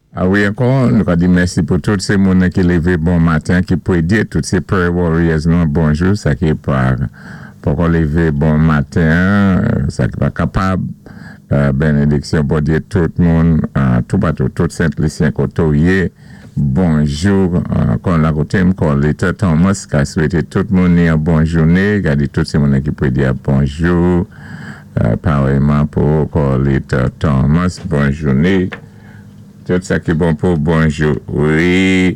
A wi, ankò, nou ka di mèsi pou tout sé moun ki lévé bon maten, ki pwédyé, tout sé prayer warriors nou, bonjou, sa ki pa poko lévé bon maten, sa ki pa kapab, bénédiksyon Bondyé tout moun, toupatou, tout Sent Lisyen koto yé, bonjou, kon la koté, kon Leta Thomas, ka swété tout moun ni yon bon jouné, ka di tout sé moun ki pwédyé bonjou, parèyman pou Leta Thomas, bon jouné. Tout sa ki bon pou bonjou. Wi,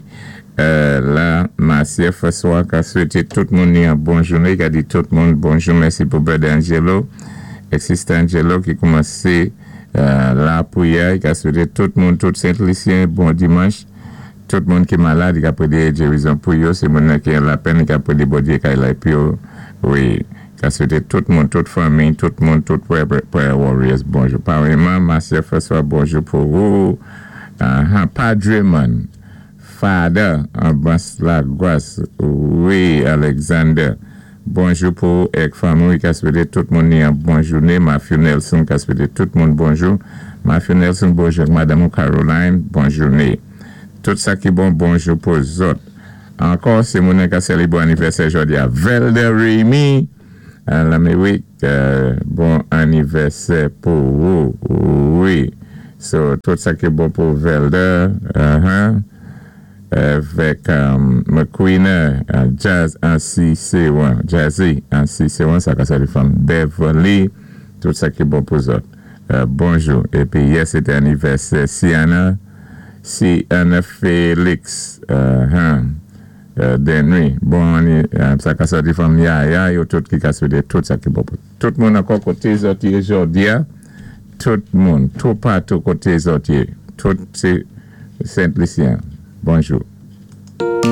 la, Marcia François ka swété tout moun ni yon bon jouné, ka di tout moun bonjou, mèsi pou Brother Angelo, ek Sister Angelo ki koumansé la pwiyè, ka swété tout moun, tout Sent Lisyen, bon dimanch, tout moun ki malad, ka pwédyé gérizon pou yo, sé moun ki an lapèn, ka pwédyé Bondyé kay la pou yo, wi, ka swété tout moun, tout fanmi, tout moun, tout prayer warriors, bonjou. Parèyman, Marcia François, bonjou pou ou, Padre Man, Father, Abbas Lagwas, wi, Alexander, bonjou pou ek fanmi, ka swété tout moun ni yon bon jouné, Matthew Nelson, ka swété tout moun bonjou, Matthew Nelson, bonjou, Madame Caroline, bon jouné. Tout sa ki bon, bonjou pou zòt. Ankò, sé moun ka sélébwé anivèsè jòdi a Velda Remy, Laméwik, bon anivèsè pou ou, wi. So, tout sa ki bon pou Velda, avèk McQueen, Jazz Ansi Sewan, Jazzy Ansi Sewan, sa ka sali fanm Beverly, tout sa ki bon pou zòt. Bonjou. Épi, yè, sété anivèsè Siana, Siana Félix, Denry, bon, sa ka sòti fanm Yaya, yo tout ki ka swété tout sa ki bon pou tout moun ankò koté zòt yé jòdi a, tout moun, toupatou koté zòt yé, tout sé Sent Lisyen. Bonjou.